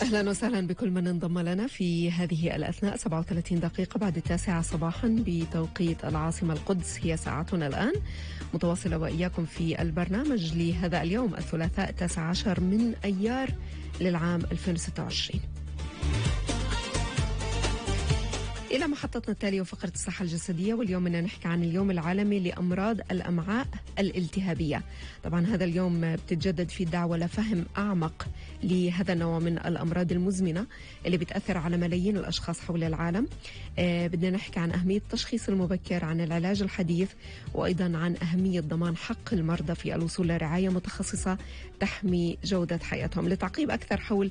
أهلا وسهلا بكل من انضم لنا في هذه الأثناء. 37 دقيقة بعد 9 صباحا بتوقيت العاصمة القدس هي ساعتنا الآن، متواصلة وإياكم في البرنامج لهذا اليوم الثلاثاء 19 من أيار للعام 2026. إلى محطتنا التالية وفقرة الصحة الجسدية، واليوم بدنا نحكي عن اليوم العالمي لأمراض الأمعاء الالتهابية. طبعا هذا اليوم بتتجدد في الدعوة لفهم أعمق لهذا النوع من الأمراض المزمنة اللي بتأثر على ملايين الأشخاص حول العالم. بدنا نحكي عن أهمية التشخيص المبكر، عن العلاج الحديث، وأيضا عن أهمية ضمان حق المرضى في الوصول لرعاية متخصصة تحمي جودة حياتهم. لتعقيب أكثر حول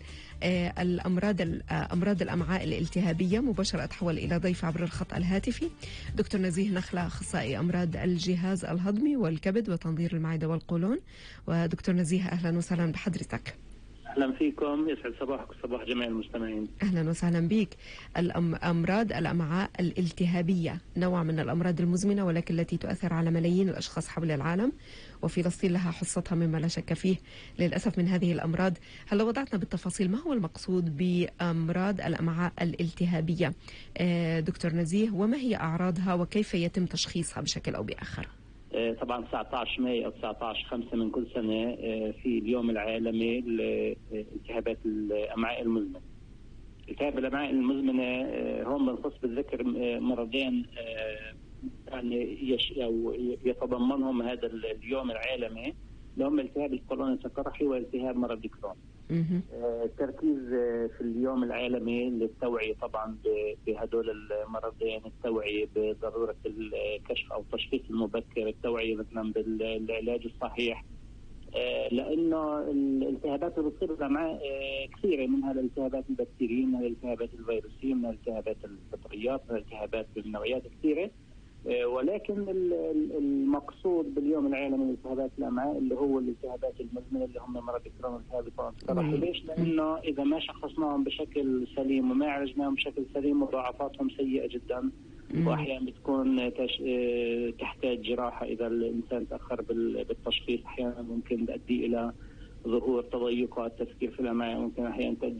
أمراض الأمعاء الالتهابية مباشرة أتحول إلى ضيف عبر الخط الهاتفي دكتور نزيه نخلة، أخصائي أمراض الجهاز الهضمي والكبد وتنظير المعدة والقولون. ودكتور نزيه أهلا وسهلا بحضرتك. أهلا فيكم، يسعد صباحك وصباح جميع المستمعين. أهلا وسهلا بك. أمراض الأمعاء الالتهابية نوع من الأمراض المزمنة ولكن التي تؤثر على ملايين الأشخاص حول العالم، وفلسطين لها حصتها مما لا شك فيه للأسف من هذه الأمراض. هل لو وضعتنا بالتفاصيل ما هو المقصود بأمراض الأمعاء الالتهابية دكتور نزيه، وما هي أعراضها وكيف يتم تشخيصها بشكل أو بآخر؟ طبعا 19 ماي أو 19/5 من كل سنة في اليوم العالمي لالتهابات الأمعاء المزمنة. التهاب الأمعاء المزمنة هون بنخص بالذكر مرضين يعني يتضمنهم هذا اليوم العالمي، اللي هم التهاب القولون القرحي والتهاب مرض الكرون. التركيز في اليوم العالمي للتوعية طبعا بهدول المرضين، التوعية بضرورة الكشف أو التشخيص المبكر، التوعية مثلا بالعلاج الصحيح، لأنه الالتهابات اللي بتصير بالأمعاء كثيرة، منها الالتهابات البكتيرية، منها الالتهابات الفيروسية، منها الالتهابات الفطريات، منها الالتهابات بالنوعيات كثيرة. ولكن المقصود باليوم العالمي لالتهابات الامعاء اللي هو الالتهابات المزمنه اللي هم مرض الكرون والتهاب القولون القرحي. ليش؟ لانه اذا ما شخصناهم بشكل سليم وما عالجناهم بشكل سليم مضاعفاتهم سيئه جدا، واحيانا بتكون تحتاج جراحه اذا الانسان تاخر بالتشخيص. احيانا ممكن تؤدي الى ظهور تضيقات تفكير في الامعاء، ممكن احيانا تؤدي